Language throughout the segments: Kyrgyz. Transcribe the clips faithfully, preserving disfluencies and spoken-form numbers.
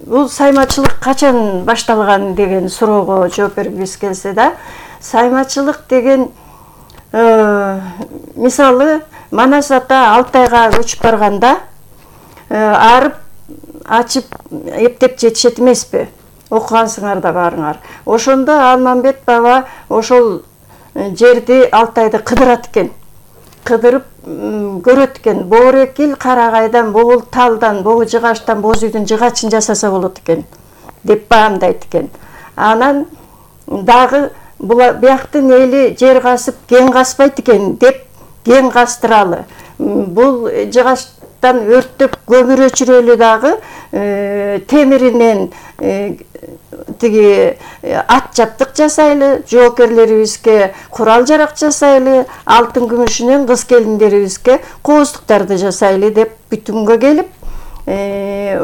бул саймачылык качан башталган деген суроого жооп бергибиз келсе да, саймачылык деген мисалы Манас ата Алтайга көчүп барганда арып ачып эптеп жетишет эмеспи? Окугансыңар да баарыңар. Ошондо Алмамбет баба ошол жерди Алтайды кыдырат экен. Кыдырып көрөт экен. Боорекил карагайдан, богул талдан, богу жыгачтан боз үйдүн жыгачын жасаса болот экен деп баамдайт экен. Анан дагы бияктын эли жер касып кен каспайт экен деп кен кастыралы. Бул жыгачтан өрттөп көмүр өчүрөлү дагы темиринен тиги ат жаптык жасайлы, жоокерлерибизге курал жарак жасайлы, алтын күмүшүнөн кыз келиндерибизге кооздуктарды жасайлы деп бүтүнгө келип,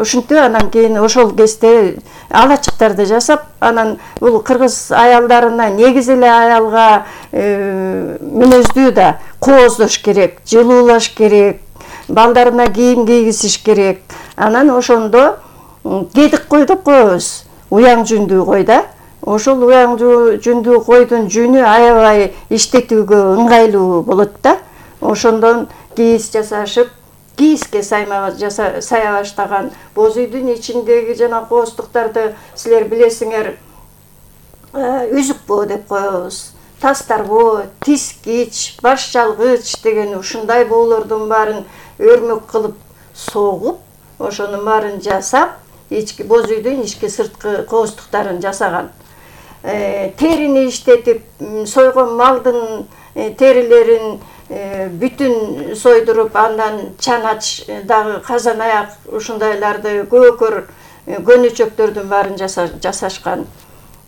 ушинтип анан кийин ошол кезде алачыктарды жасап, анан бул кыргыз аялдарына негиз эле аялга мүнөздүү да кооздош керек, жылуулаш керек, балдарына кийим кийгизиш керек. Анан ошондо кедик кой деп коебуз. Уяң жүндүү кой да. Ошол уяң жүндүү койдун жүнү аябай иштетүүгө ыңгайлуу болот да. Ошондон кийиз жасашып, кийизге сая баштаган. Боз үйдүн ичиндеги жана кооздуктарды силер билесиңер, үзүкбоо деп коебуз. Тастарбоо, тискич, баш жалгыч деген ушундай боолордун баарын өрмөк кылып согуп, ошонун баарын жасап, ички боз үйдүн ички сырткы кооздуктарын жасаган. Терини иштетип, сойгон малдын терилерин бүтүн сойдуруп, андан чанач дагы казан аяк ушундайларды көкөр көнөчөктөрдүн баарын жасашкан.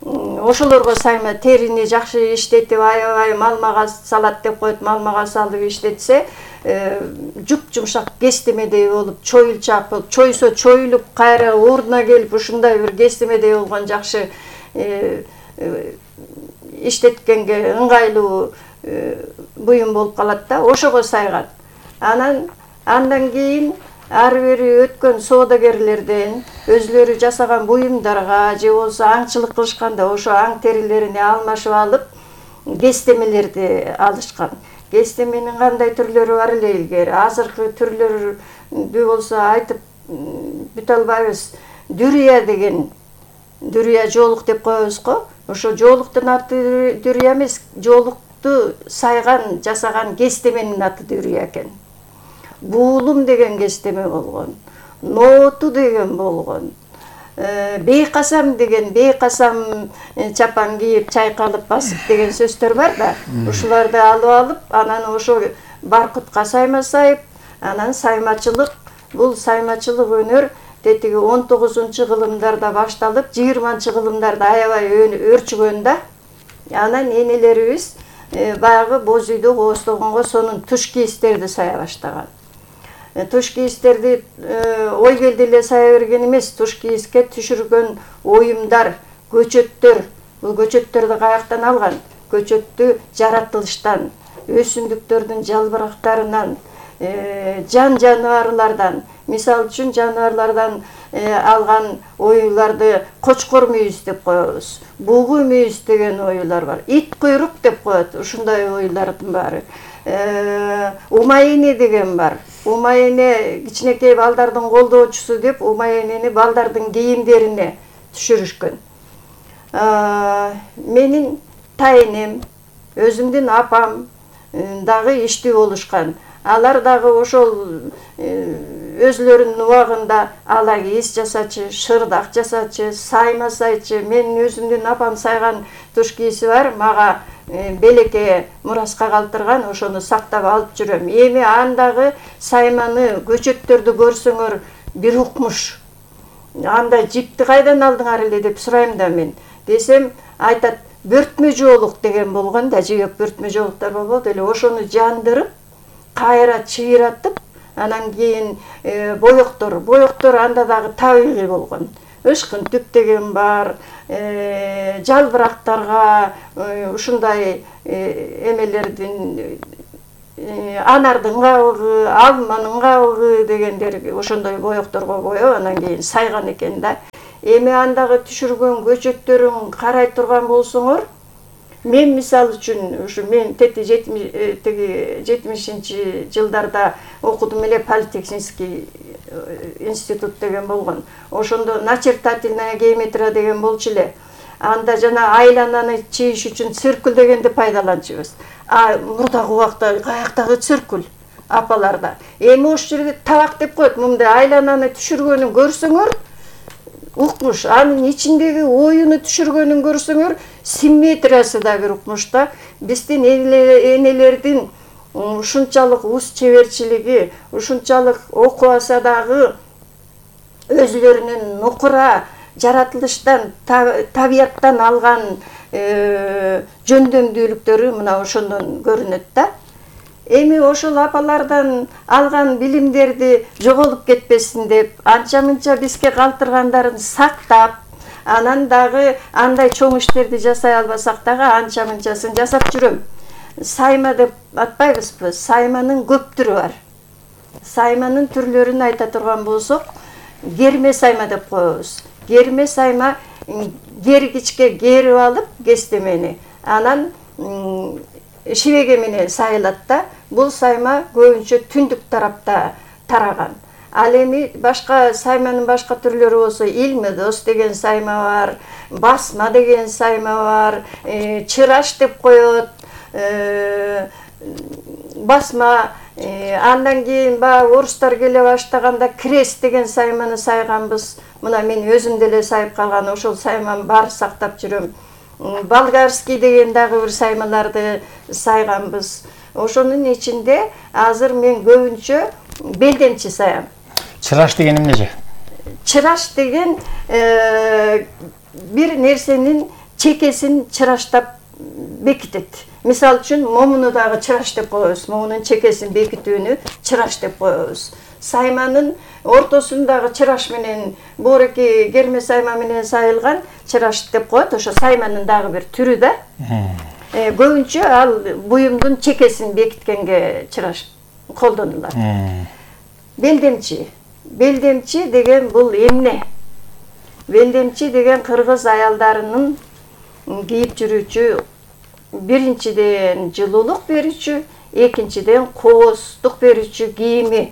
Ошолорго сайма терини жакшы иштетип, аябай малмага салат деп коет, малмага салып иштетсе, жуп-жумшак кестемедей болуп, чоюлчак болуп, чойсо чоюлуп, кайра ордуна келип, ушундай бир кестемедей болгон жакшы иштеткенге ыңгайлуу буюм болуп калат да, ошого сайган. Анан андан кийин ары бери өткөн соодагерлерден өзлөрү жасаган буюмдарга же болсо аңчылык кылышканда ошо аң терилерине алмашып алып, кестемелерди алышкан. Кестеменин кандай түрлөрү бар эле илгери. Азыркы түрлөрү болсо айтып бүтө албайбыз. Дүрия деген, дүрия жоолук деп коебуз го. Ошо жоолуктун аты дүрия эмес, жоолукту сайган, жасаган кестеменин аты дүрия экен. Буулум деген кестеме болгон. Нооту деген болгон. Бейкасам деген, бейкасам чапан кийип, чайкалып басып деген сөздөр бар да. Ушуларды алып алып, анан ошо баркытка сайма сайып, анан саймачылык, бул саймачылык өнөр тетиги он тогузунчу кылымдарда башталып, жыйырманчы кылымдарда аябай өрчүгөн да. Анан энелерибиз баягы боз үйдө кооздогонго сонун туш кийиздерди сая баштаган. Туш кийиздерди ой келди эле сая берген эмес, туш кийизге түшүргөн оюмдар, көчөттөр. Бул көчөттөрдү каяктан алган? Көчөттү жаратылыштан, өсүмдүктөрдүн жалбырактарынан, жан жаныбарлардан, мисалы үчүн жаныбарлардан алган оюларды кочкор мүйүз деп коебуз. Бугу мүйүз деген оюлар бар. Ит куйрук деп коет, ушундай оюлардын баары. Умайыне деген бар. Умайыне кичинекей балдардын колдоочусу деп умайынени балдардын кийимдерине түшүрүшкөн. Менин тайнем, өзүмдүн апам дагы иштүү болушкан. Алар дагы ошол өзлөрүнүн убагында ала кийиз жасачы, шырдак жасачы, сайма сайчы. Менин өзүмдүн апам сайган туш кийизи бар, мага белекке мураска калтырган, ошону сактап алып жүрөм. Эми андагы сайманы, көчөттөрдү көрсөңөр бир укмуш. Анда жипти кайдан алдыңар эле деп сурайм да мен. Десем, айтат, бөртмө жоолук деген болгон да, жибек бөртмө жоолуктар болот эле, ошону жандырып, кайра чыйратып, анан кийин боектор, боектор анда дагы табигый болгон. Ышкын түк деген бар, жалбырактарга ушундай эмелердин анардын кабыгы, алманын кабыгы дегендер ошондой боекторго коюп анан кийин сайган экен да. Эми андагы түшүргөн көчөттөрүн карай турган болсоңор, мен мисалы үчүн ушу мен тети жетимишинчи жылдарда окудум эле, политехнический институт деген болгон. Ошондо начертательная геометрия деген болчу эле. Анда жана айлананы чийиш үчүн циркуль дегенди пайдаланчубуз. А мурдагы убакта каяктагы циркуль апаларда. Эми ошол жерде табак деп коет. Мындай айлананы түшүргөнүн көрсөңөр, укмуш, анын ичиндеги оюну түшүргөнүн көрсөңөр, симметриясы да бир укмуш да. Биздин энелердин ушунчалык уз чеберчилиги, ушунчалык окубаса дагы өзлөрүнүн нукура жаратылыштан, табияттан алган жөндөмдүүлүктөрү мына ошондон көрүнөт да. Эми ошол апалардан алган билимдерди жоголуп кетпесин деп, анча-мынча бизге калтыргандарын сактап, анан дагы андай чоң иштерди жасай албасак дагы анча-мынчасын жасап жүрөм. Сайма деп атпайбызбы? Сайманын көп түрү бар. Сайманын түрлөрүн айта турган болсок, герме сайма деп коебуз. Герме сайма гергичке герип алып кестемени, анан шибеге менен сайылат да. Бул сайма көбүнчө түндүк тарапта тараган. Ал эми башка сайманын башка түрлөрү болсо, илмедос деген сайма бар, басма деген сайма бар, чыраш деп коет, басма. Андан кийин баягы орустар келе баштаганда крест деген сайманы сайганбыз. Мына мен өзүм деле сайып калган, ошол сайманы бар сактап жүрөм. Болгарский деген дагы бир саймаларды сайганбыз. Ошонун ичинде азыр мен көбүнчө белдемчи саям. Чыраш деген эмне? Чыраш деген бир нерсенин чекесин чыраштап бекитет. Мисалы үчүн момуну дагы чыраш деп коебуз. Момунун чекесин бекитүүнү чыраш деп коебуз. Сайманын ортосундагы чыраш менен боореки герме сайма менен сайылган чыраш деп коет. Ошо сайманын дагы бир түрү да. Көбүнчө ал буюмдун чекесин бекиткенге чыраш колдонулат. Белдемчи. Белдемчи деген бул эмне? Белдемчи деген кыргыз аялдарынын кийип жүрүүчү, биринчиден жылуулук берүүчү, экинчиден кооздук берүүчү кийими.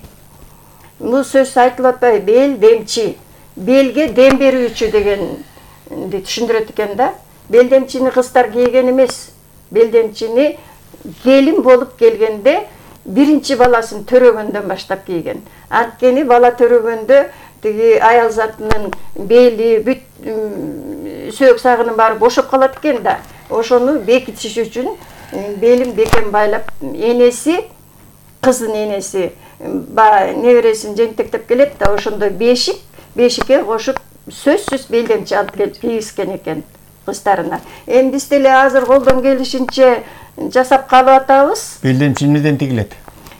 Бул сөз айтылып атпайбы? Белдемчи. Белге дем берүүчү дегенди түшүндүрөт экен да. Белдемчини кыздар кийген эмес. Белдемчини келин болуп келгенде биринчи баласын төрөгөндөн баштап кийген. Анткени бала төрөгөндө тиги аял затынын бели, бүт сөөк сагынын баары бошоп калат экен да. Ошону бекитиш үчүн белин бекем байлап, энеси, кыздын энеси ба небересин жентектеп келет да, ошондо бешик, бешикке кошуп сөзсүз белдемчи алып келип кийгизген экен кыздарына. Эми биз деле азыр колдон келишинче жасап калып атабыз. Белдемчи эмнеден тигилет?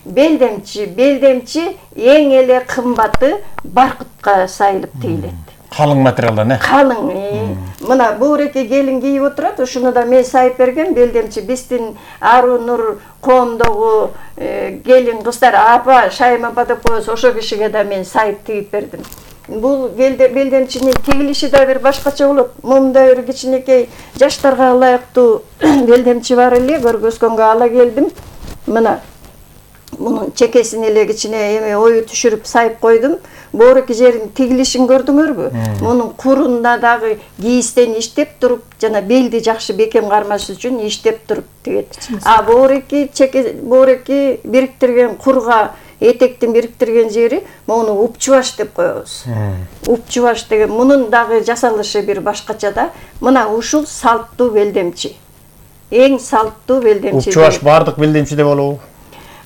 Белдемчи, белдемчи эң эле кымбаты баркытка сайылып тигилет. Калың материалдан, э? Калың. Мына бууреки келин кийип отурат, ошону да мен сайып берген белдемчи. Биздин Ару Нур коомдогу келин кыздар, апа, Шайым апа деп коебуз, ошо кишиге да мен сайып тигип бердим. Бул белдемчинин тигилиши да бир башкача болот. Мындай бир кичинекей жаштарга ылайыктуу белдемчи бар эле, көргөзгөнгө ала келдим. Мына мунун чекесин эле кичине эме ою түшүрүп сайып койдум. Боореки жерин тигилишин көрдүңөрбү? Мунун курунда дагы кийистен иштеп туруп, жана белди жакшы бекем кармаш үчүн иштеп туруп тигет. А боореки чеке, боореки бириктирген курга этектин бириктирген жери муну упчубаш деп коебуз. Упчубаш деген мунун дагы жасалышы бир башкача да. Мына ушул салттуу белдемчи. Эң салттуу белдемчи. Упчубаш бардык белдемчиде болобу?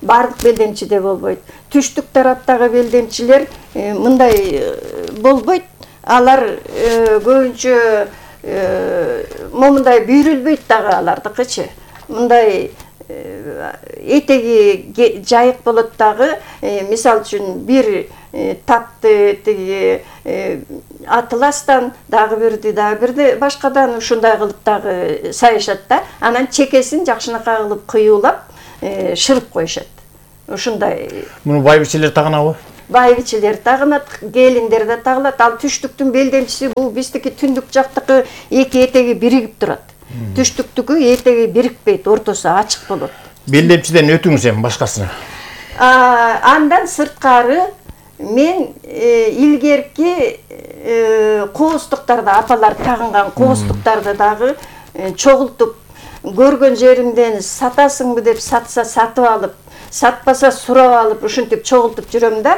Бардык белдемчиде болбойт. Түштүк тараптагы белдемчилер мындай болбойт. Алар көбүнчө момундай бүйрүлбөйт дагы алардыкычы. Мындай этеги жайык болот дагы. Мисалы үчүн бир тапты тиги атластан, дагы бирди, дагы бирди башкадан ушундай кылып дагы сайышат да. Анан чекесин жакшынакай кылып кыюулап, шырып коюшат. Ушундай. Муну байбичелер тагынабы? Байбичелер тагынат, келиндер да тагылат. Ал түштүктүн белдемчиси бул биздики түндүк жактыкы эки этеги биригип турат. Түштүктүкү этеги бирикпейт, ортосу ачык болот. Белдемчиден өтүңүз эми башкасына. Андан сырткары мен илгерки кооздуктарды, апалар тагынган кооздуктарды дагы чогултуп, көргөн жеримден сатасыңбы деп сатса сатып алып, сатпаса сурап алып, ушинтип чогултуп жүрөм да.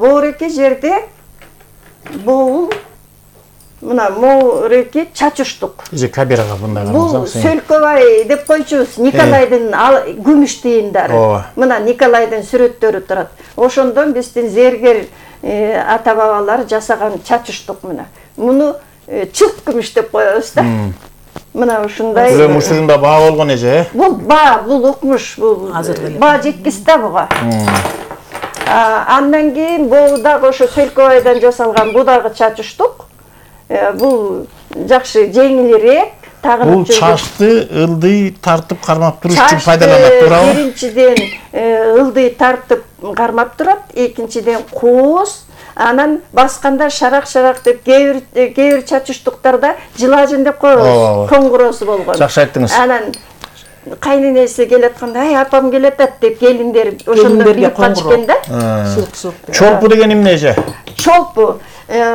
Боореки жерде бул мына моореки чачыштук. Эже камерага мындай Бул Сөлкөбай деп койчубуз, Николайдын күмүш тыйындары. Мына Николайдын сүрөттөрү турат. Ошондон биздин зергер ата бабалар жасаган чачыштук мына. Муну чылт күмүш деп коебуз да. Мына ушундай. Бул ушунда баа болгон эже. Бул баа, бул укмуш, бул баа жеткис да буга. Андан кийин бул дагы ошо Сөлкөбайдан жасалган бу дагы чачыштук. Бул жакшы жеңилирээк, тагынып жүрүп. Бул чачты ылдый тартып кармап туруш үчүн пайдаланат, туурабы? Биринчиден ылдый тартып кармап турат, экинчиден кооз, анан басканда шарак-шарак деп кээ бир чачыштуктарда жылажын деп коебуз, коңгуроосу болгон. Жакшы айттыңыз. Анан кайненеси келатканда, ай апам келатат деп келиндер ошондо билип калышкан да. Чолпу деген эмне эже? Чолпу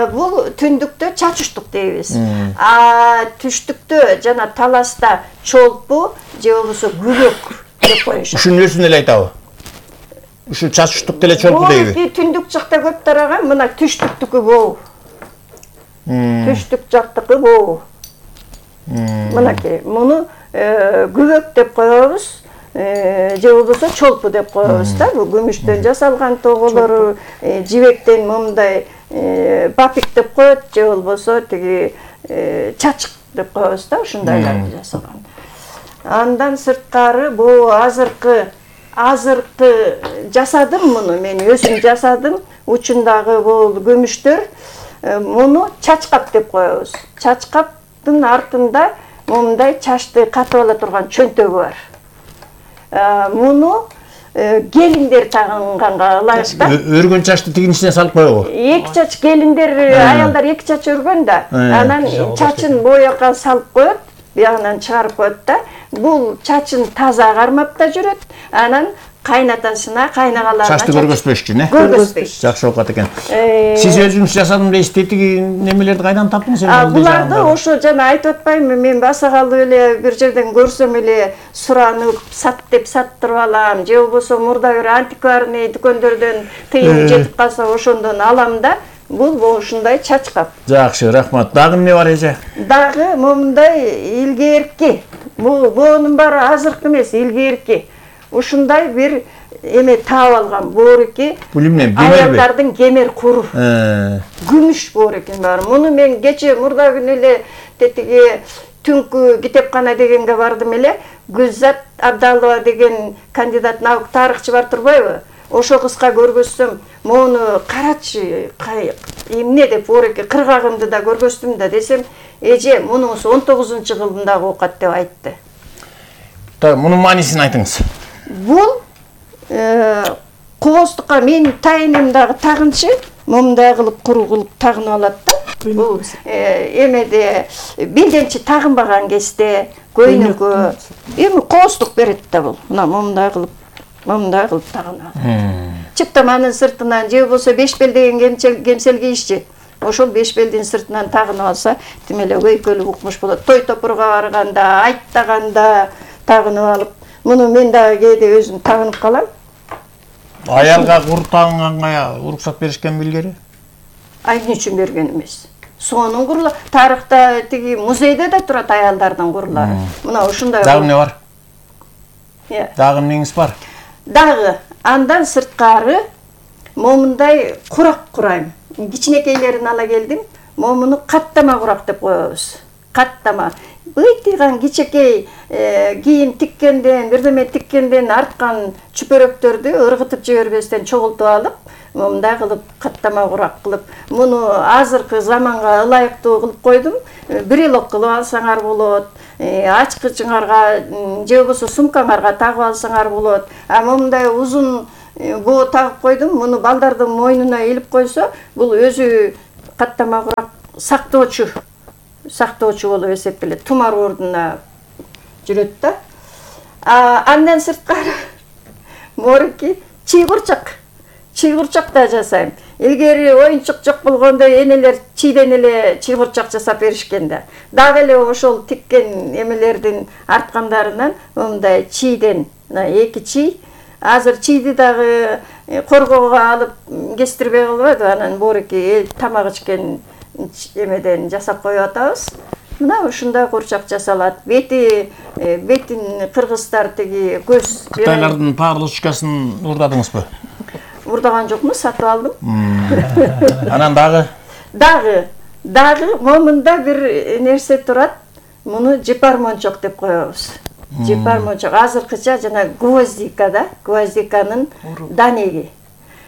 бул түндүктө чачыштук дейбиз. А түштүктө жана таласта чолпу же болбосо күбөк деп коюшат. Ушунун өзүн эле айтабы? Ушу чачыштук деле чолпу дейби? Бул түндүк жакта көп тараган, мына түштүктүкү бул. Түштүк жактыкы бул. Мынакей, муну күбөк деп коебуз. Же болбосо чолпу деп коебуз да. Бул күмүштөн жасалган тоголору, жибектен момундай бапик деп коет, же болбосо тиги чачык деп коебуз да, ушундайларды жасаган. Андан сырткары бул азыркы азыркы жасадым муну, мен өзүм жасадым. Учундагы бул күмүштөр муну чачкап деп коебуз. Чачкаптын артында момундай чачты катып ала турган чөнтөгү бар. Муну келиндер тагынганга ылайык да. Өргөн чачты тигин ичине салып коебу? Эки чач келиндер, аялдар эки чач өргөн да. Анан чачын боякка салып коет, биягынан чыгарып коет да. Бул чачын таза кармап да жүрөт. Анан кайнатасына, кайнагаларына чачты көргөзбөшчү, э? Көргөзбөйт. Жакшы окат экен. Сиз өзүңүз жасадым дейсиз, тиги немелерди кайдан таптыңыз? Буларды ошо жана айтып атпаймынбы, мен басакалы эле бир жерден көрсөм эле суранып, сат деп саттырып алам, же болбосо мурда бир антикварный дүкөндөрдөн тыйын жетип калса ошондон алам да. Бул ушундай чачкап. Жакшы, рахмат. Дагы эмне бар эже? Дагы момундай илгерки. Бул буунун баары азыркы эмес, илгерки. Ушундай бир эме таап алган боореки. Бул эмне? Аялдардын кемер куру. Күмүш боорекин бар. Муну мен кече мурда күнү эле тетиги түнкү китепкана дегенге бардым эле. Гүлзат Абдалова деген кандидат наук тарыхчы бар турбайбы? Ошо кызга көргөзсөм, мону карачы, эмне деп боореки кыргагымды да көргөздүм да десем, эже мунусу он тогузунчу кылымдагы оокат деп айтты. Так, мунун маанисин айтыңыз. Бул кооздукка менин тайыным дагы тагынчы, момундай кылып куру кылып тагынып алат да. Бул эмеде белдемчи тагынбаган кезде көйнөгө эми кооздук берет да бул. Мына момундай кылып момундай кылып тагынат. Чыптаманын сыртынан же болбосо беш бел деген кемсел кийишчи. Ошол беш белдин сыртынан тагынып алса, тим эле өйкөлүк укмуш болот. Той топурга барганда, айттаганда тагынып алып, муну мен дагы кээде өзүм тагынып калам. Аялга кур тагынганга уруксат беришкен билгери? Ай эмне үчүн берген эмес. Сонун курулар. Тарыхта тиги музейде да турат аялдардын курулары. Мына ушундай. Дагы эмне бар? Дагы эмнеңиз бар? Дагы андан сырткары момундай курак курайм. Кичинекейлерин ала келдим. Момуну каттама курак деп коебуз. Каттама. Быйтыган кичекей кийим тиккенден, бирдеме тиккенден арткан чүпөрөктөрдү ыргытып жибербестен чогултуп алып, момундай кылып каттама курак кылып, муну азыркы заманга ылайыктуу кылып койдум. Бир элок кылып алсаңар болот. ачкычыңарга же болбосо сумкаңарга тагып алсаңар болот. А мындай узун боо тагып койдум. Муну балдардын мойнуна илип койсо, бул өзү каттама курак сактоочу, сактоочу болуп эсептелет. Тумар ордуна жүрөт да. А андан сырткары морики чыйгурчак. Чыйгурчак да жасайм. Илгери оюнчук жок болгондо энелер чийден эле чыйгурчак жасап беришкен да. Дагы эле ошол тиккен эмелердин арткандарынан мындай чийден эки чий. Азыр чийди дагы коргоого алып кестирбей калбайбы? Анан борики тамак ичкен эмеден жасап коюп атабыз. Мына ушундай курчак жасалат. Бети бетин кыргыздар тиги көз Кытайлардын парлушкасын урдадыңызбы? Урдаган жокмун, сатып алдым. Анан дагы Дагы, дагы момунда бир нерсе турат. Муну жипар мончок деп коебуз. Жипар мончок азыркыча жана гвоздика да, гвоздиканын данеги.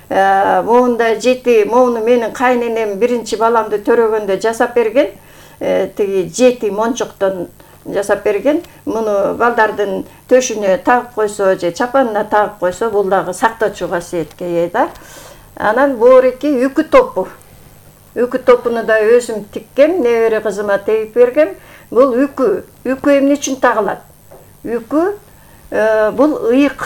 Момунда жети, момуну менин кайненем биринчи баламды төрөгөндө жасап берген. Тиги жети мончоктон жасап берген. Муну балдардын төшүнө тагып койсо же чапанына тагып койсо, бул дагы сактоочу касиетке ээ да. Анан борики үкү топу. Үкү топуну да өзүм тиккем, небере кызыма тегип бергем. Бул үкү. Үкү эмне үчүн тагылат? Үкү бул ыйык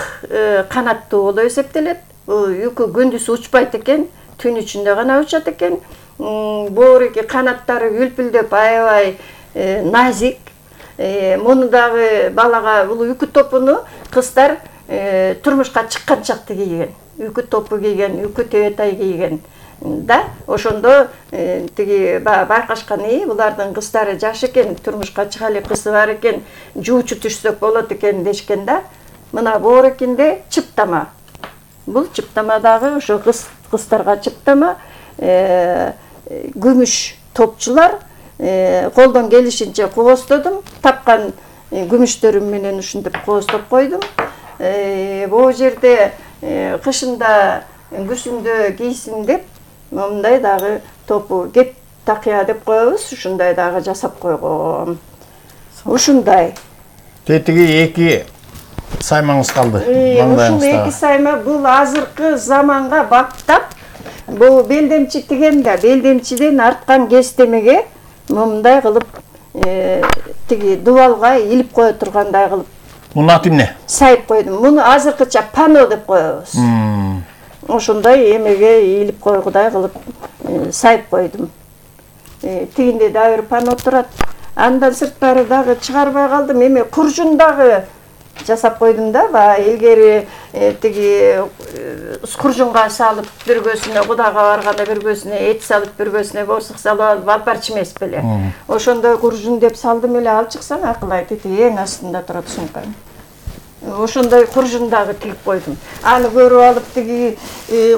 канаттуу болуп эсептелет. Үкү күндүз учпайт экен, түн ичинде гана учат экен. Борики канаттары үлпүлдөп аябай назик. Муну дагы балага бул үкү топуну кыздар турмушка чыкканчакты кийген. Үкү топу кийген, үкү тебетай кийген. Да, ошондо тиги байкашканы булардын кыздары жаш экен, турмушка чыга эле кызы бар экен, жуучу түшсөк болот экен дешкен да. Мына борикинде чыптама. Бул чыптама дагы ошо кыздарга чыптама. Күмүш топчулар колдон келишинче кооздодум. Тапкан күмүштөрүм менен ушинтип кооздоп койдум. Бул жерде кышында күзүндө кийсин деп мындай дагы топу кеп такыя деп коебуз. Ушундай дагы жасап койгом. Ушундай. Тетиги эки саймаңыз калды. Ушул эки сайма бул азыркы заманга баптап, бул белдемчи тиген да, белдемчиден арткан кестемеге мындай кылып тиги дубалга илип кое тургандай кылып. Мунун аты эмне? Сайып койдум. Муну азыркыча пано деп коебуз. Ошондой эмеге илип койгудай кылып сайып койдум. Тигинде дагы бир пано турат. Андан сырткары дагы чыгарбай калдым. Эме куржун дагы жасап койдум да. Баягы илгери тиги куржунга салып биргөсүнө кудага барганда биргөсүнө эт салып биргөсүнө боорсук салып алып алпарчы эмес беле. Ошондой куржун деп салдым эле, алып чыксаң акылай тиги эң астында турат сумкам. Ошондой куржун дагы тигип койдум. Аны көрүп алып тиги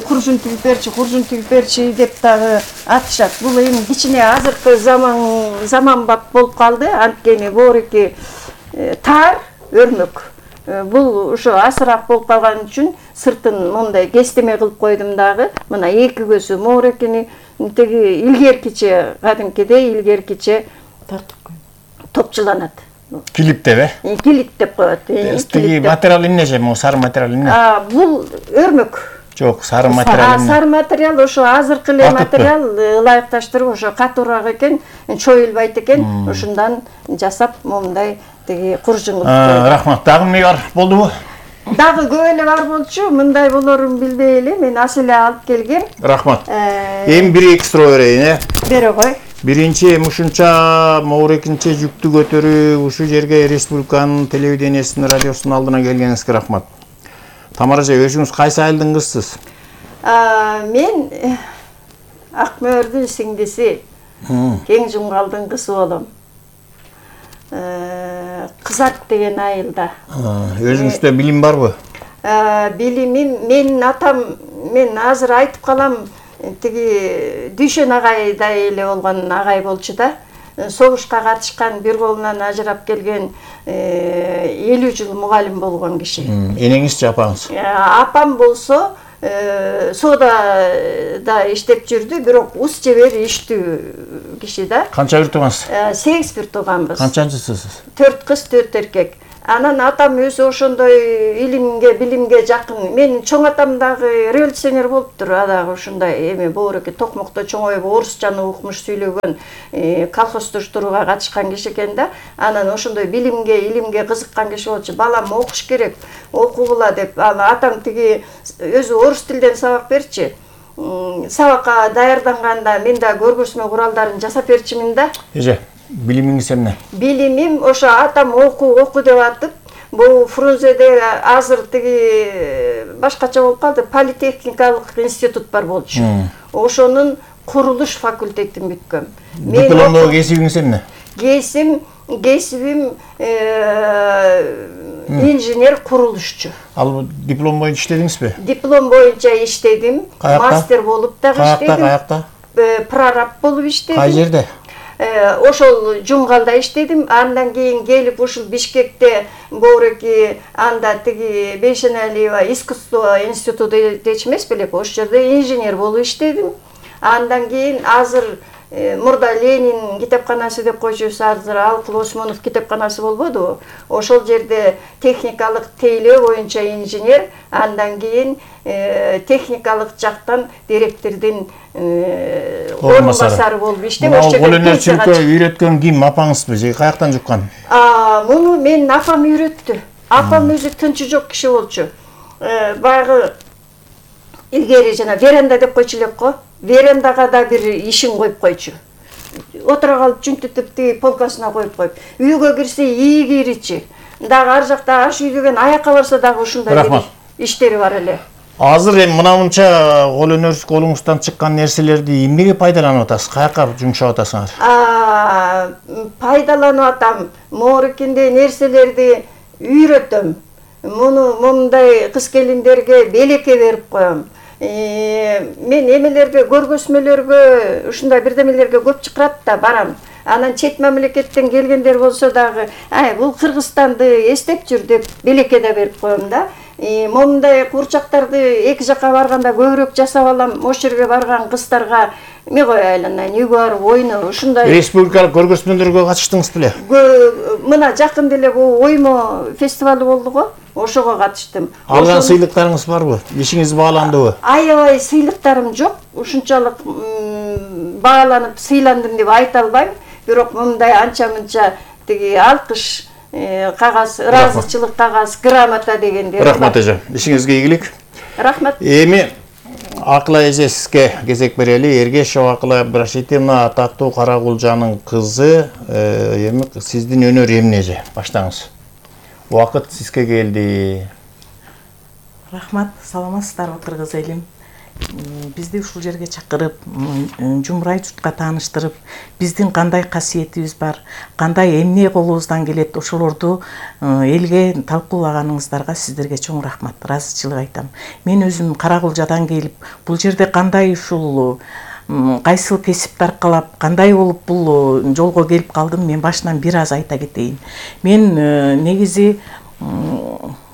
куржун тигип берчи, куржун тигип берчи деп дагы атышат. Бул эми кичине азыркы заман заманбап болуп калды. Анткени борики тар өрмөк. Бул ошо асыраак болуп калган үчүн сыртын мындай кестеме кылып койдум дагы. Мына эки көзү морекини тиги илгеркиче, кадимкидей илгеркиче топчуланат. Килиптеп, э? Килип деп коет. Тиги материал эмне же? Могу сары материал эмне? А, бул өрмөк. Жок, сары материал эмне? Сары материал ошо азыркы эле материал ылайыкташтырып ошо катуураак экен, чоюлбайт экен. Ошундан жасап момундай тиги куржун кылып койдум. Рахмат. Дагы эмне бар болдубу? Дагы көп эле бар болчу. Мындай болорун билбей эле мен аз эле алып келгем. Рахмат. Эми бир эки суроо берейин, э? Бере кой. Биринчи, мушунча моорекинче жүктү көтөрүп, ушу жерге республиканын телевидениесинин, радиосунун алдына келгениңизге рахмат. Тамара эже, өзүңүз кайсы айылдын кызысыз? Мен Акмөөрдүн сиңдиси, Кең Жумгалдын кызы болом. Кызат деген айылда. Өзүңүздө билим барбы? Билимим, менин атам, мен азыр айтып калам, тиги Дүйшөн агайдай эле болгон агай болчу да. Согушка катышкан, бир колунан ажырап келген, элүү жыл мугалим болгон киши. Энеңизчи, апаңыз? Апам болсо соодада иштеп жүрдү, бирок ус жебер иштүү киши да. Канча бир туугансыз? сегиз бир тууганбыз. Канчанчысыз? төрт кыз, төрт эркек. Анан атам өзү ошондой илимге, билимге жакын. Менин чоң атам дагы революционер болуптур. А дагы ушундай эми боореке Токмокто чоңоюп орусчаны укмуш, сүйлөгөн, колхоздоштурууга катышкан киши экен да. Анан ошондой билимге, илимге кызыккан киши болчу. Балам окуш керек, окугула деп. Атам тиги өзү орус тилден сабак берчи. Сабакка даярданганда мен да көргөзмө куралдарын жасап берчимин да. Эже, билимиңиз эмне? Билимим ошо атам оку оку деп атып, бул Фрунзеде азыр тиги башкача болуп калды, политехникалык институт бар болчу. Ошонун курулуш факультетин бүткөм. Дипломдогу кесибиңиз эмне? Кесим, кесибим инженер курулушчу. Ал диплом боюнча иштедиңизби? Диплом боюнча иштедим, мастер болуп дагы иштедим. Каякта, каякта? Прораб болуп иштедим. Кай жерде? Ошол Жумгалда иштедим. Андан кийин келип ушул Бишкекте боореки анда тиги Бейшеналиева искусство институту дечи эмес белек, ошол жерде инженер болуп иштедим. Андан кийин азыр мурда Ленин китепканасы деп койчубуз, азыр Алкул Осмонов китепканасы болбодубу? Ошол жерде техникалык тейлөө боюнча инженер, андан кийин техникалык жактан директордун орун басары болуп иштеп, ошол жерде колөнөрчүлүккө үйрөткөн ким, апаңызбы же каяктан жуккан? Муну менин апам үйрөттү. Апам өзү тынчы жок киши болчу. Баягы илгери жана веранда деп койчу элек го. Верандага да бир ишин коюп койчу. Отура калып жүнтүтүп тиги полкасына коюп коюп. Үйгө кирсе ийи киричи. Дагы ар жакта аш үй деген аякка барса дагы ушундай иштери бар эле. Азыр эми мына мынча кол өнөр колуңуздан чыккан нерселерди эмнеге пайдаланып атасыз? Каяка жумшап атасыңар? Пайдаланып атам. Моорекинде нерселерди үйрөтөм. Муну мондай кыз келиндерге белекке берип коем. Мен эмелерге, көргөзмөлөргө, ушундай бирдемелерге көп чакырат да барам. Анан чет мамлекеттен келгендер болсо дагы, ай бул Кыргызстанды эстеп жүр деп белекке да берип коем да. Момундай курчактарды эки жакка барганда көбүрөөк жасап алам. Ошол жерге барган кыздарга эме кой айланайын, үйгө барып ойно, ушундай. Республикалык көргөзмөлөргө катыштыңыз беле? Мына жакын деле бул оймо фестивалы болду го. Ошого катыштым. Алган сыйлыктарыңыз барбы? Ишиңиз бааландыбы? Аябай сыйлыктарым жок. Ушунчалык бааланып, сыйландым деп айта албайм. Бирок мындай анча-мынча тиги алкыш кагаз, ыраазычылык кагаз, грамота дегендер. Рахмат эже. Ишиңизге ийгилик. Рахмат. Эми Акыла эже сизге кезек берели. Эргешова Акыла Ибрашитовна атактуу Карагулжанын кызы. Эми сиздин өнөр эмне эже? Баштаңыз. Убакыт сизге келди. Рахмат, саламатсыздарбы кыргыз элим. Бизди ушул жерге чакырып, жумурай журтка тааныштырып, биздин кандай касиетибиз бар, кандай эмне колубуздан келет, ошолорду элге талкуулаганыңыздарга сиздерге чоң рахмат, ыраазычылык айтам. Мен өзүм Карагулжадан келип, бул жерде кандай ушул кайсыл кесипти аркалап, кандай болуп бул жолго келип калдым, мен башынан бир аз айта кетейин. Мен негизи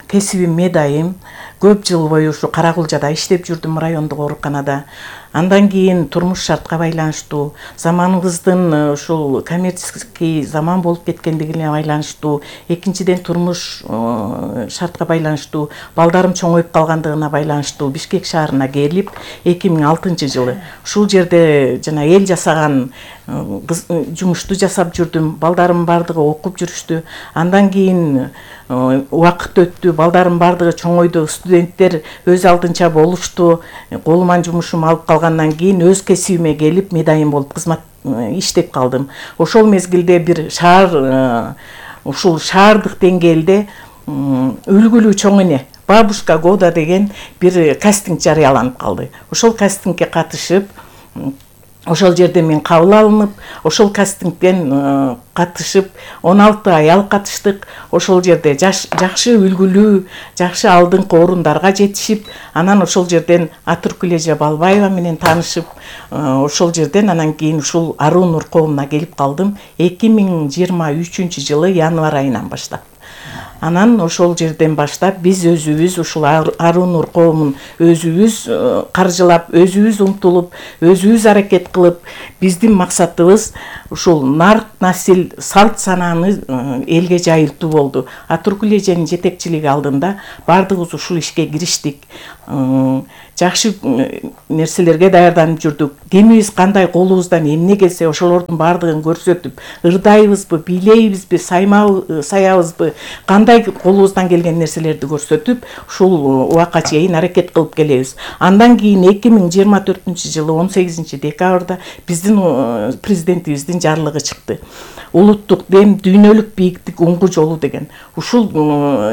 кесибим медайым. Көп жыл бою ушу Карагулжада иштеп жүрдүм, райондук ооруканада. Андан кийин турмуш шартка байланыштуу, заманыбыздын ушул коммерческий заман болуп кеткендигине байланыштуу, экинчиден турмуш шартка байланыштуу, балдарым чоңоюп калгандыгына байланыштуу Бишкек шаарына келип, эки миң алтынчы жылы ушул жерде жана эл жасаган жумушту жасап жүрдүм. Балдарым бардыгы окуп жүрүштү. Андан кийин убакыт өттү, балдарым бардыгы чоңойду, студенттер өз алдынча болушту. Колуман жумушум алып калгандан кийин өз кесибиме келип, медайым болуп кызмат иштеп калдым. Ошол мезгилде бир шаар, ушул шаардык деңгээлде үлгүлүү чоң эне Бабушка года деген бир кастинг жарыяланып калды. Ошол кастингке катышып, ошол жерде мен кабыл алынып, ошол кастингден катышып, он алты аял катыштык. Ошол жерде жакшы үлгүлүү, жакшы алдыңкы орундарга жетишип, анан ошол жерден Атүркүл эже Балбаева менен таанышып, ошол жерден анан кийин ушул Аруу Нур коомуна келип калдым эки миң жыйырма үчүнчү жылы январь айынан баштап. Анан ошол жерден баштап биз өзүбүз ушул Аруу Нур коомун өзүбүз каржылап, өзүбүз умтулуп, өзүбүз аракет кылып, биздин максатыбыз ушул нарк насил салт санааны элге жайылтуу болду. Атуркул эженин жетекчилиги алдында баардыгыбыз ушул ишке кириштик. Жакшы нерселерге даярданып жүрдүк. Кимибиз кандай колубуздан эмне келсе ошолордун баардыгын көрсөтүп, ырдайбызбы, бийлейбизби, саябызбы, кандай колубуздан келген нерселерди көрсөтүп, ушул убакка чейин аракет кылып келебиз. Андан кийин эки миң жыйырма төртүнчү жылы он сегизинчи декабрда биздин президентибиздин жарлыгы чыкты. Улуттук дем, дүйнөлүк бийиктик уңгу жолу деген. Ушул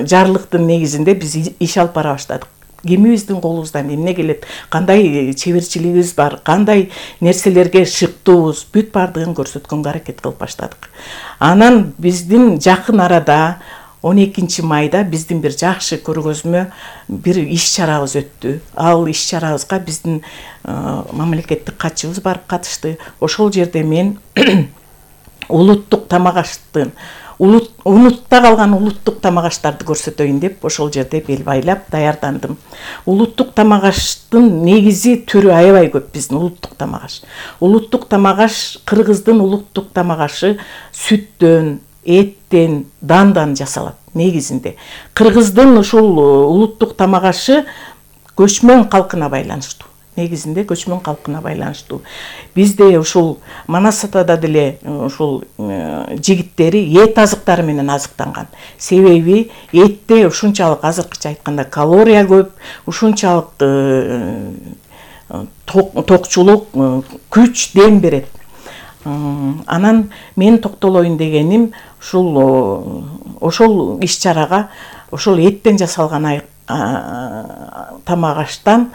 жарлыктын негизинде биз иш алып бара баштадык. Кимибиздин колубуздан эмне келет, кандай чеберчилигибиз бар, кандай нерселерге шыктуубуз, бүт баардыгын көрсөткөнгө аракет кылып баштадык. Анан биздин жакын арада он экинчи майда биздин бир жакшы көргөзмө бир иш чарабыз өттү. Ал иш чарабызга биздин мамлекеттик катчыбыз барып катышты. Ошол жерде мен улуттук тамак аштын унутта калган улуттук тамак аштарды көрсөтөйүн деп ошол жерде бел байлап даярдандым. Улуттук тамак аштын негизи түрү аябай көп биздин улуттук тамак аш. Улуттук тамак аш кыргыздын улуттук тамак ашы сүттөн, эттен, дандан жасалат негизинде. Кыргыздын ушул улуттук тамак ашы көчмөн калкына байланыштуу. Негизинде көчмөн калкына байланыштуу. Бизде ушул Манас атада деле ушул жигиттери эт азыктары менен азыктанган. Себеби этте ушунчалык азыркыча айтканда калория көп, ушунчалык токчулук, күч, дем берет. Анан мен токтолоюн дегеним ушул ошол иш чарага ошол эттен жасалган тамак аштан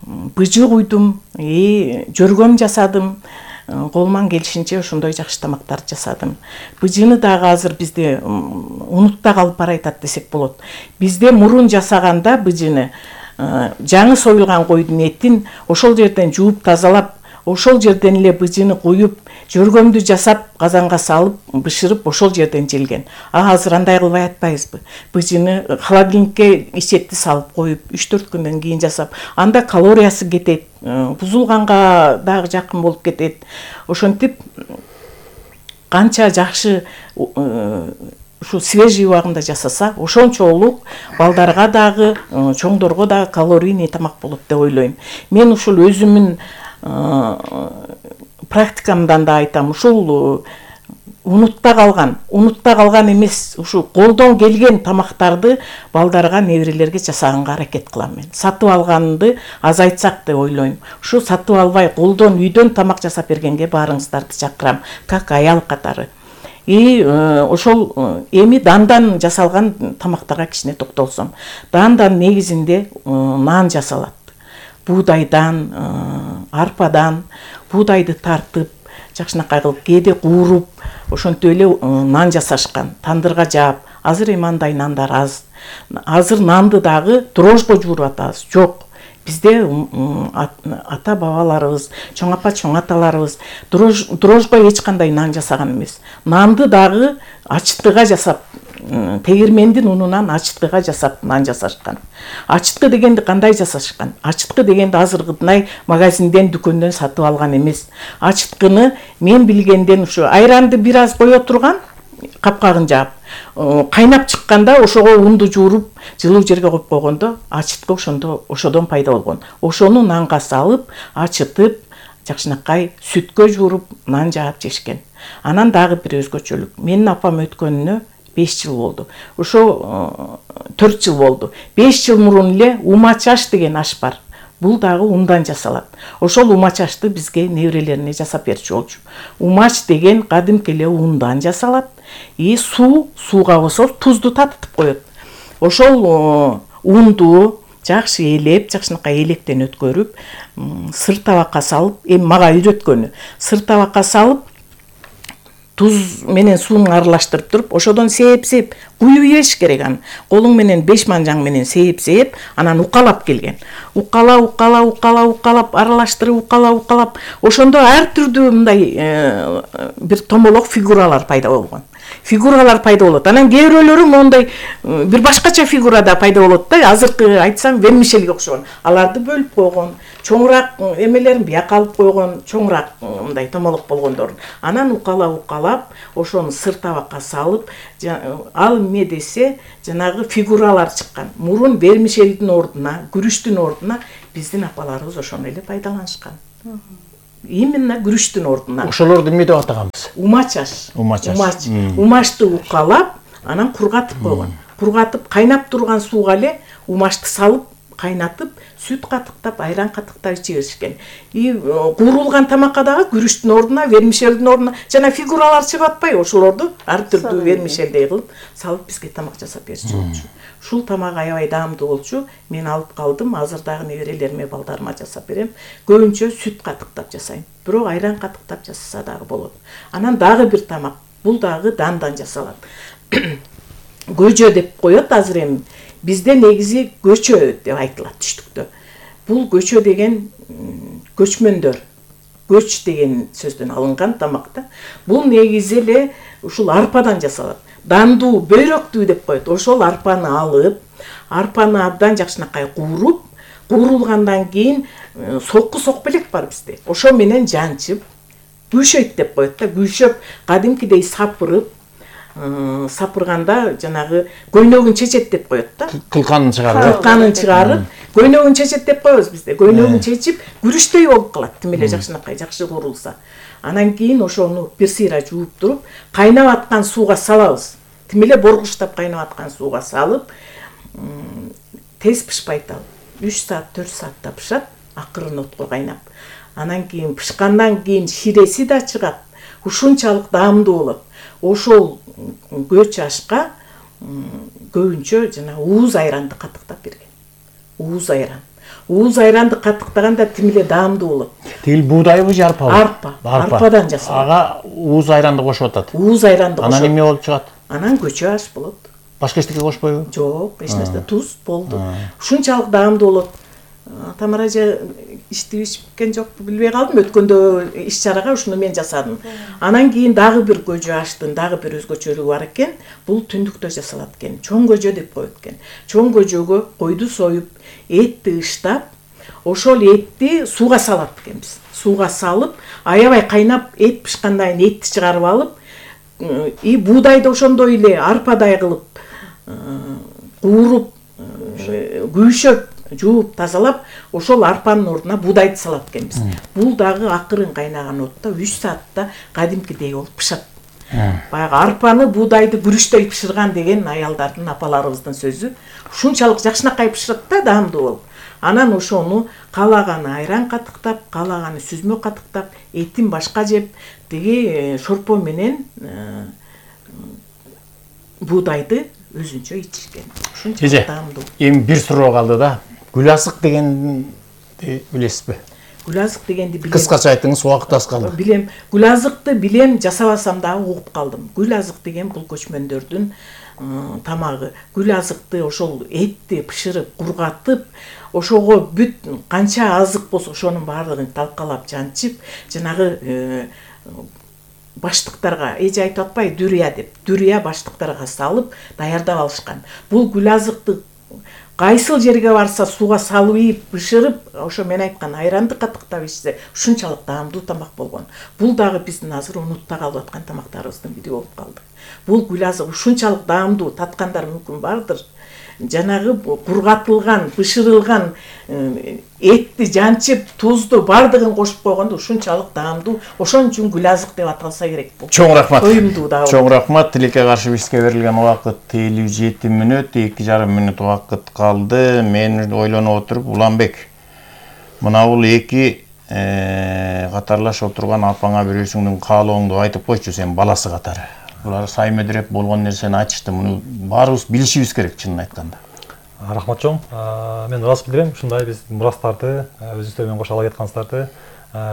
быжы куйдум, жөргөм жасадым, колуман келишинче ошондой жакшы тамактарды жасадым. Быжыны дагы азыр бизде унутта калып баратат десек болот. Бизде мурун жасаганда быжыны жаңы союлган койдун этин ошол жерден жууп тазалап, ошол жерден эле быжыны куюп, жөргөмдү жасап, казанга салып, бышырып, ошол жерден желген. А азыр андай кылбай атпайбызбы? Быжыны холодильникке ичетти салып коюп, үч төрт күндөн кийин жасап, анда калориясы кетет, бузулганга дагы жакын болуп кетет. Ошентип канча жакшы ушу свежий убагында жасаса, ошончолук балдарга дагы, чоңдорго дагы калорийный тамак болот деп ойлойм. Мен ушул өзүмүн практикамдан да айтам, ушул унутта калган, унутта калган эмес, ушул колдон келген тамактарды балдарга, неберелерге жасаганга аракет кылам мен. Сатып алганды азайтсак деп ойлойм. Ушу сатып албай, колдон, үйдөн тамак жасап бергенге баарыңыздарды чакырам, как аял катары. И ошол эми дандан жасалган тамактарга кичине токтолсом. Дандан негизинде нан жасалат. Буудайдан, арпадан, буудайды тартып, жакшынакай кылып, кээде кууруп, ошентип эле нан жасашкан, тандырга жаап. Азыр эми андай нандар аз. Азыр нанды дагы дрожжго жууруп атабыз. Жок. Бизде ата бабаларыбыз, чоң апа, чоң аталарыбыз дрожжго эч кандай нан жасаган эмес. Нанды дагы ачыткыга жасап, тегирмендин унунан ачыткыга жасап нан жасашкан. Ачыткы дегенди кандай жасашкан? Ачыткы дегенди азыркыдай магазинден, дүкөндөн сатып алган эмес. Ачыткыны мен билгенден ушу айранды бир аз кое турган, капкагын жаап, кайнап чыкканда ошого унду жууруп, жылуу жерге коюп койгондо ачыткы ошондо ошодон пайда болгон. Ошону нанга салып, ачытып, жакшынакай сүткө жууруп, нан жаап жешкен. Анан дагы бир өзгөчөлүк. Менин апам өткөнүнө беш жыл болду. Ошо төрт жыл болду. беш жыл мурун эле умачаш деген аш бар. Бул дагы ундан жасалат. Ошол умачашты бизге неберелерине жасап берчү болчу. Умач деген кадимки эле ундан жасалат. И суу, сууга болсо тузду татытып коет. Ошол унду жакшы элеп, жакшынакай электен өткөрүп, сыр табакка салып, эми мага үйрөткөнү. Сыр табакка салып, туз менен сууну аралаштырып туруп, ошодон сээп-сээп, куюп ийиш керек аны. Колуң менен беш манжаң менен сээп-сээп, анан укалап келген. Укала, укала, укала, укалап, аралаштырып, укала, укалап, ошондо ар түрдүү мындай бир томолок фигуралар пайда болгон. фигуралар пайда болот. Анан кээ бирөөлөрү мондай бир башкача фигурада пайда болот да. Азыркы айтсам вермишельге окшогон. Аларды бөлүп койгон, чоңураак эмелерин бияка алып койгон, чоңураак мындай томолок болгондорун. Анан укалап-укалап, ошону сыр табакка салып, ал эмне десе, жанагы фигуралар чыккан. Мурун вермишельдин ордуна, күрүчтүн ордуна биздин апаларыбыз ошону эле пайдаланышкан. Именно күрүчтүн ордуна. Ошолорду эмне деп атаганбыз? Умач аш. Умач аш. Умач. Умачты укалап, анан кургатып койгон. Кургатып, кайнап турган сууга эле умачты салып, кайнатып, сүт катыктап, айран катыктап иче беришкен. И куурулган тамакка дагы күрүчтүн ордуна, вермишельдин ордуна жана фигуралар чыгып атпайбы, ошолорду ар түрдүү вермишелдей кылып салып бизге тамак жасап берчү болчу. Ушул тамак аябай даамдуу болчу. Мен алып калдым. Азыр дагы неберелериме, балдарыма жасап берем. Көбүнчө сүт катыктап жасайм. Бирок айран катыктап жасаса дагы болот. Анан дагы бир тамак. Бул дагы дандан жасалат. Көжө деп коет азыр эми. Бизде негизи көчө деп айтылат түштүктө. Бул көчө деген көчмөндөр. Көч деген сөздөн алынган тамак да. Бул негизи эле ушул арпадан жасалат. Дандуу, бөйрөктүү деп коет. Ошол арпаны алып, арпаны абдан жакшынакай кууруп, куурулгандан кийин сокку сокбелек бар бизде. Ошо менен жанчып, күйшөйт деп коет да. Күйшөп, кадимкидей сапырып, сапырганда жанагы көйнөгүн чечет деп коет да. Кылканын чыгарып. Кылканын чыгарып, көйнөгүн чечет деп коебуз бизде. Көйнөгүн чечип, күрүчтөй болуп калат. Тим эле жакшынакай, жакшы куурулса. Анан кийин ошону бир сыйра жууп туруп, кайнап аткан сууга салабыз. Тим эле боргуштап кайнап аткан сууга салып, тез пышпайт ал. үч саат, төрт саатта пышат, акырын отко кайнап. Анан кийин пышкандан кийин ширеси да чыгат. Ушунчалык даамдуу болот. Ошол көч ашка көбүнчө жана ууз айранды катыктап берген. Ууз айран. Ууз айранды катыктаганда тим эле даамдуу болот. Тигил буудайбы же арпабы? Арпа. Арпадан жасалат. Ага ууз айранды кошуп атат. Ууз айранды кошуп. Анан эмне болуп чыгат? Анан көчө аш болот. Башка эчтеке кошпойбу? Жок, эч нерсе, туз болду. Ушунчалык даамдуу болот. Тамара эже ичти ичкен жокпу билбей калдым. Өткөндө иш чарага ушуну мен жасадым. Анан кийин дагы бир көжө аштын дагы бир өзгөчөлүгү бар экен. Бул түндүктө жасалат экен. Чоң көжө деп коет экен. Чоң көжөгө койду союп, этти ыштап, ошол этти сууга салат экенбиз. Сууга салып, аябай кайнап, эт пышкандан кийин этти чыгарып алып, и буудайды ошондой эле арпадай кылып кууруп, күйшөп, жууп, тазалап, ошол арпанын ордуна буудайды салат экенбиз. Бул дагы акырын кайнаган отто үч саатта кадимкидей болуп пышат. Баягы арпаны, буудайды күрүчтөй пышырган деген аялдардын, апаларыбыздын сөзү. Ушунчалык жакшынакай пышырат да, даамдуу болуп. Анан ошону каалаганы айран катыктап, каалаганы сүзмө катыктап, этин башка жеп, тиги шорпо менен буудайды өзүнчө ичишкен. Ушунчалык даамдуу. Эми бир суроо калды да. Гүлазык дегенди билесизби? Гүлазык дегенди билем. Кыскача айтыңыз, убакыт аз калды. Билем. Гүлазыкты билем, жасабасам дагы угуп калдым. Гүлазык деген бул көчмөндөрдүн тамагы. Гүлазыкты ошол этти бышырып, кургатып, ошого бүт канча азык болсо ошонун баардыгын талкалап жанчып, жанагы баштыктарга, эже айтып атпайбы, дүрия деп, дүрия баштыктарга салып даярдап алышкан. Бул гүлазыкты кайсыл жерге барса сууга салып ийип, бышырып, ошо мен айткан айранды катыктап ичсе, ушунчалык даамдуу тамак болгон. Бул дагы биздин азыр унутта калып аткан тамактарыбыздын бири болуп калды. Бул гүлазык ушунчалык даамдуу, таткандар мүмкүн бардыр. Жанагы кургатылган, бышырылган этти жанчып, тузду бардыгын кошуп койгондо ушунчалык даамдуу. Ошон үчүн гүлазык деп аталса керек бул. Чоң рахмат. Коюмдуу дагы. Чоң рахмат. Тилекке каршы бизге берилген убакыт элүү жети мүнөт, эки жарым мүнөт убакыт калды. Мен ойлонуп отуруп, Уланбек, мына бул эки катарлаш отурган апаңа бирөөсүңдүн каалооңду айтып койчу, сен баласы катары. Булар сай медреп болгон нерсени айтышты. Муну баарыбыз билишибиз керек, чынын айтканда. Рахмат чоң. Мен ырас билдирем, ушундай биз мурастарды, өзүңүздөр менен кошо ала жаткансыздарды,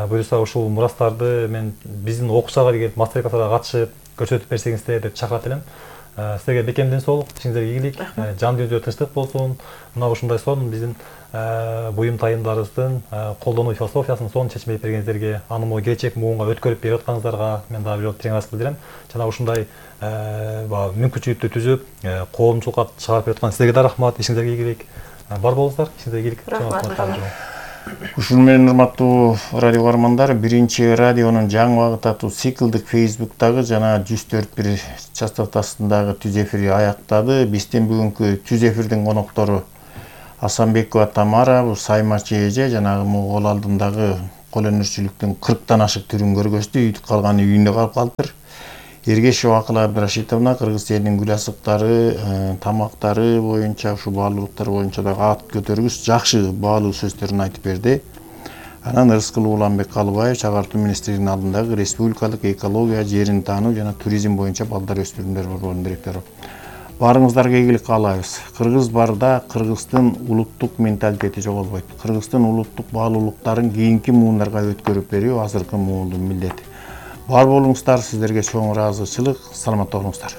буюрса ушул мурастарды мен биздин окуусага келип, мастер класстарга катышып, көрсөтүп берсеңиздер деп чакырат элем. Силерге бекем ден соолук, ишиңиздерге ийгилик, жан дүйнөдө тынчтык болсун. Мына ушундай сонун биздин буюм тайымдарыбыздын колдонуу философиясын сонун чечмелеп бергениңиздерге, аны могу келечек муунга өткөрүп берип атканыңыздарга мен дагы бир жолу терең ыраазычылык билдирем. Жана ушундай баягы мүмкүнчүлүктү түзүп, коомчулукка чыгарып берип аткан силерге да рахмат, ишиңиздерге ийгилик. Бар болуңуздар, ишиңиздерге ийгилик. Рахмат. Ушун менен урматтуу радио көрөрмандар, биринчи радионун жаңы багыт аттуу циклдык Facebook'тагы жана жүз төрт бир частотасындагы түз эфири аяктады. Биздин бүгүнкү түз эфирдин коноктору Асанбекова Тамара, бул саймачы эже, жанагы кол алдындагы кол өнөрчүлүктүн кырктан ашык түрүн көргөздү, үйдү калган үйүндө калып калыптыр. Эргешова Акыл Абдрашитовна кыргыз элинин гүл асыктары, тамактары боюнча, ушу баалуулуктар боюнча дагы ат көтөргүс жакшы баалуу сөздөрүн айтып берди. Анан Ырыскул Уланбек Калыбаев Чагартуу министрлигинин алдындагы республикалык экология, жерин таануу жана туризм боюнча балдар өспүрүмдөр борборунун директору. Баарыңыздарга ийгилик каалайбыз. Кыргыз барда кыргыздын улуттук менталитети жоголбойт. Кыргыздын улуттук баалуулуктарын кийинки муундарга өткөрүп берүү азыркы муундун милдети. Бар болуңуздар, сиздерге чоң ыраазычылык, саламатта болуңуздар.